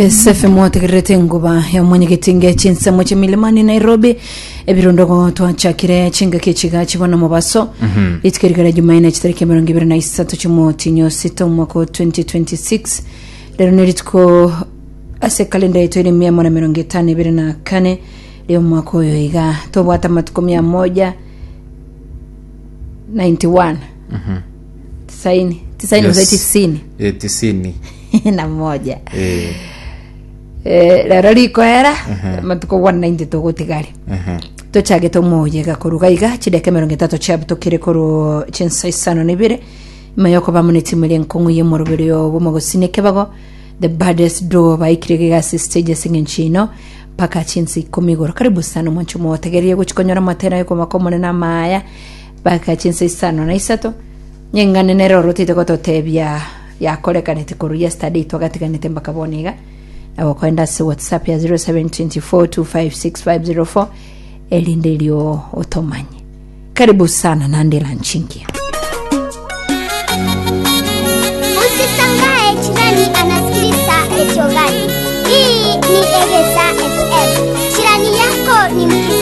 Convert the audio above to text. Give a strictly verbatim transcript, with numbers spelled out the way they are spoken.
G S F M otegererete enguba ya mwenyegetinge chinsemo chia Milimani, Nairobi. Ebirundogo twachakire chingaki chiga chibona mobaso rituko rigara Jumaine, chitariki emerongo ibere na isato chimotinyo sita, omwaka wa twenty twenty-six. Rero ni rituko ase kalenda yetu ere mia moja na mirongo itano ibere na kane rio omwaka oyo. Iga tobwate amatuko mia moja ninety-one, tisaini tisaini. Yes. Yes. Tisini. Eh, tisini na moja. Eh, Eh, rero rikoera matuko one ninety tugutigari. ehe. Tochagete omoyega koruga iga chideka emerongo etato chiabutokire koru chinsa isano na ibere, nyuma yokoba muna etimu eria enkong'u y'omoroberi bw'omogosini ekebago, the baddest duo, baikire iga ase stage ase eng'encho ino mpaka chinsa ikomi igoro. Karibu sana omwancho motegererie gochi konyora amatera yokomaka omonene amaya mpaka chinsa isano na isato. Nyeng'ane nere orotete gototebia yakorekanete koru yesterday twagatiganete mpaka bono iga. Nabo koenda ase WhatsApp ya zero seven two four two five six five zero four erinde erio otomanye. Karibu sana nande lanchingia.